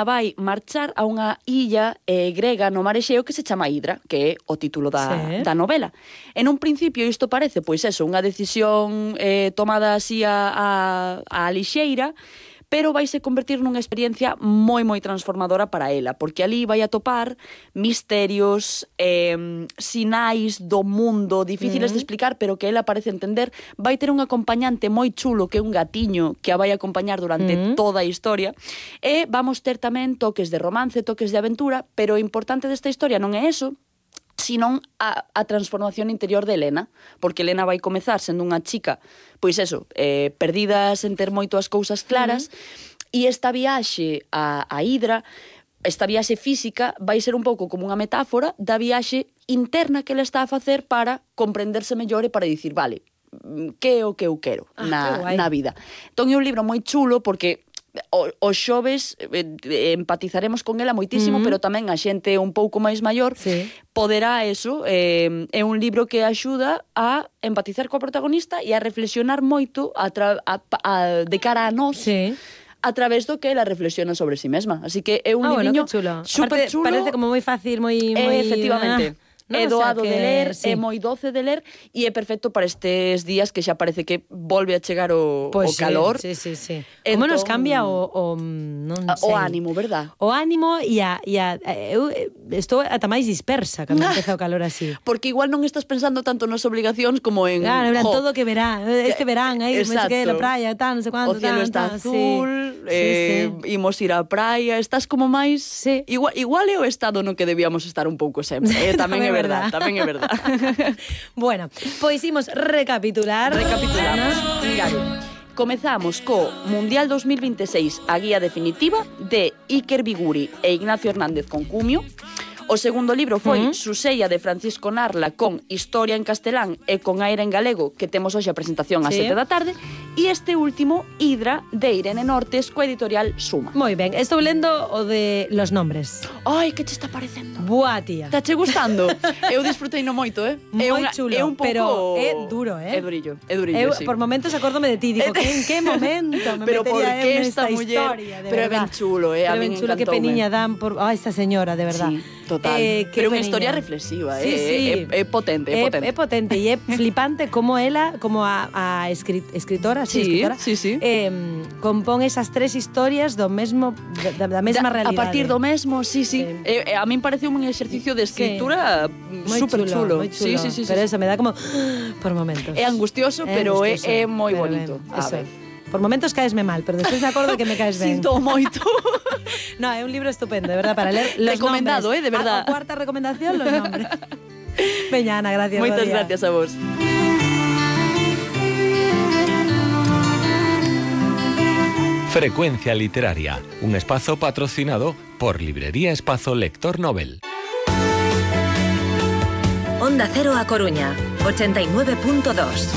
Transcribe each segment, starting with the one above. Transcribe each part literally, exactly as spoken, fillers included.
vai marchar a unha illa eh, grega no mar Exeo que se chama Hidra, que é o título da, sí. da novela. En un principio isto parece, pois eso, unha decisión eh, tomada así a, a, a lixeira, pero vaise convertir nunha experiencia moi, moi transformadora para ela, porque ali vai atopar misterios, eh, sinais do mundo difíciles mm. de explicar, pero que ela parece entender. Vai ter un acompañante moi chulo, que é un gatiño, que a vai acompañar durante mm. toda a historia, e vamos ter tamén toques de romance, toques de aventura, pero o importante desta historia non é eso, sino a, a transformación interior de Elena, porque Elena vai comezar sendo unha chica, pois eso, eh, perdida sen ter moito as cousas claras, uh-huh. e esta viaxe a, a Hidra, esta viaxe física, vai ser un pouco como unha metáfora da viaxe interna que ela está a facer para comprenderse mellor e para dicir, vale, que é o que eu quero ah, na, na vida. Entón é un libro moi chulo porque O, os xoves eh, empatizaremos con ela moitísimo, uh-huh. pero tamén a xente un pouco máis maior sí. poderá eso, eh, é un libro que axuda a empatizar coa protagonista e a reflexionar moito a tra- a, a, de cara a nós sí. a través do que ela reflexiona sobre si mesma. Así que é un ah, libriño bueno, super chulo. Parece como moi fácil, moi... moi... Eh, efectivamente. Ah. No, é doado o sea que, de ler, sí. é moi doce de ler e é perfecto para estes días que xa parece que volve a chegar o, pues o calor. Sí, sí, sí. Entón, como nos cambia o, o, non sei. O ánimo, verdad? O ánimo e a, e a eu estou ata máis dispersa cando empeza o calor así. Porque igual non estás pensando tanto nas obligacións como en... Claro, en todo que verá, este verán, aí, non sei que, la praia, tal, non sei cuánto, o cielo tal, está tal, azul, sí. eh, sí, sí. imos ir á praia, estás como máis... Sí. Igual, igual é o estado no que debíamos estar un pouco sempre, eh? tamén é verdad, tamén é verdad. Bueno, pois imos recapitular. Recapitulamos. Claro. Comezamos co Mundial dos mil veintiséis, a guía definitiva de Iker Biguri e Ignacio Hernández Concumio. O segundo libro foi uh-huh. Susella de Francisco Narla con Historia en castelán e con aire en galego, que temos hoxe a presentación ás sí. sete da tarde. E este último, Hidra, de Irene Nortes, coa editorial Suma. Moi ben, estou lendo o de Los Nombres. Ai, que te está parecendo? Buah, tía. Está che gustando? Eu disfrutei no moito, eh? Moi é unha, chulo, é un pouco... pero é duro, eh? É durillo, é durillo, eu, sí. Por momentos acórdome de ti, digo, que en que momento me pero metería en esta, esta muller, historia, de pero verdad. é ben chulo, eh? Pero a ben chulo, que peniña dan por... Ah, esta señora, de verdad. Sí, total. Eh, pero unha historia reflexiva, sí, eh? sí. É, é potente, é potente. É potente e é flipante como ela, como a, a escrit, escritora, sí, sí, escritora, sí, sí. Eh, compón esas tres historias do mesmo da, da mesma da, realidade. A partir do mesmo, sí, sí. sí. Eh, a min parece un exercicio de escritura sí. super chulo. Moi chulo. Sí, sí, sí, pero sí. eso me dá como por momentos. É angustioso, é pero angustioso, é, é moi bonito. Ben, a ver. Por momentos caesme mal, pero despois me acordo que me caes ben. Sinto moito. No, é un libro estupendo, de verdad, para ler los recomendado, nombres. eh, de verdad. A, a cuarta recomendación, los nombres. Veña, Ana, gracias. Moitas gracias a vos. Frecuencia Literaria, un espazo patrocinado por Librería Espazo Lector Nobel. Onda Cero a Coruña, ochenta y nueve punto dos.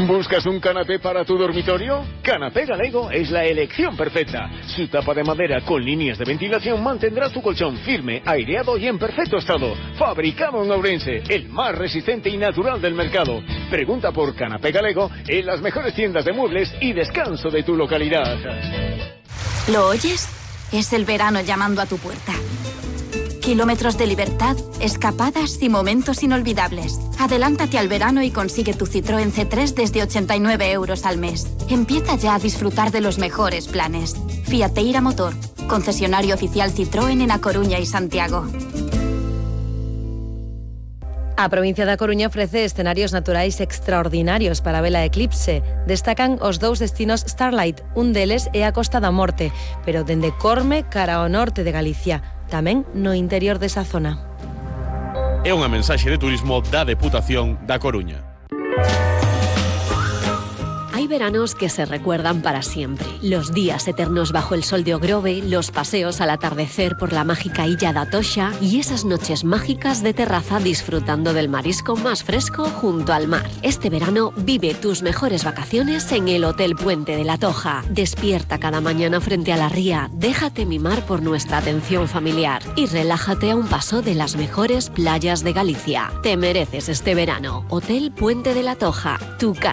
¿Buscas un canapé para tu dormitorio? Canapé Galego es la elección perfecta. Su tapa de madera con líneas de ventilación mantendrá tu colchón firme, aireado y en perfecto estado. Fabricado en Ourense, el más resistente y natural del mercado. Pregunta por Canapé Galego en las mejores tiendas de muebles y descanso de tu localidad. ¿Lo oyes? Es el verano llamando a tu puerta. Kilómetros de libertad, escapadas y momentos inolvidables. Adelántate al verano y consigue tu Citroën C tres desde ochenta y nueve euros al mes. Empieza ya a disfrutar de los mejores planes. Fiateira Motor, concesionario oficial Citroën en A Coruña y Santiago. A provincia da Coruña ofrece escenarios naturais extraordinarios para a vela eclipse. Destacan os dous destinos Starlight, un deles é a Costa da Morte, pero dende Corme cara ao norte de Galicia. Tamén no interior desa zona. É unha mensaxe de turismo da Deputación da Coruña. Hay veranos que se recuerdan para siempre. Los días eternos bajo el sol de Ogrove, los paseos al atardecer por la mágica Illa da Toxa y esas noches mágicas de terraza disfrutando del marisco más fresco junto al mar. Este verano vive tus mejores vacaciones en el Hotel Puente de la Toja. Despierta cada mañana frente a la ría, déjate mimar por nuestra atención familiar y relájate a un paso de las mejores playas de Galicia. Te mereces este verano. Hotel Puente de la Toja, tu casa.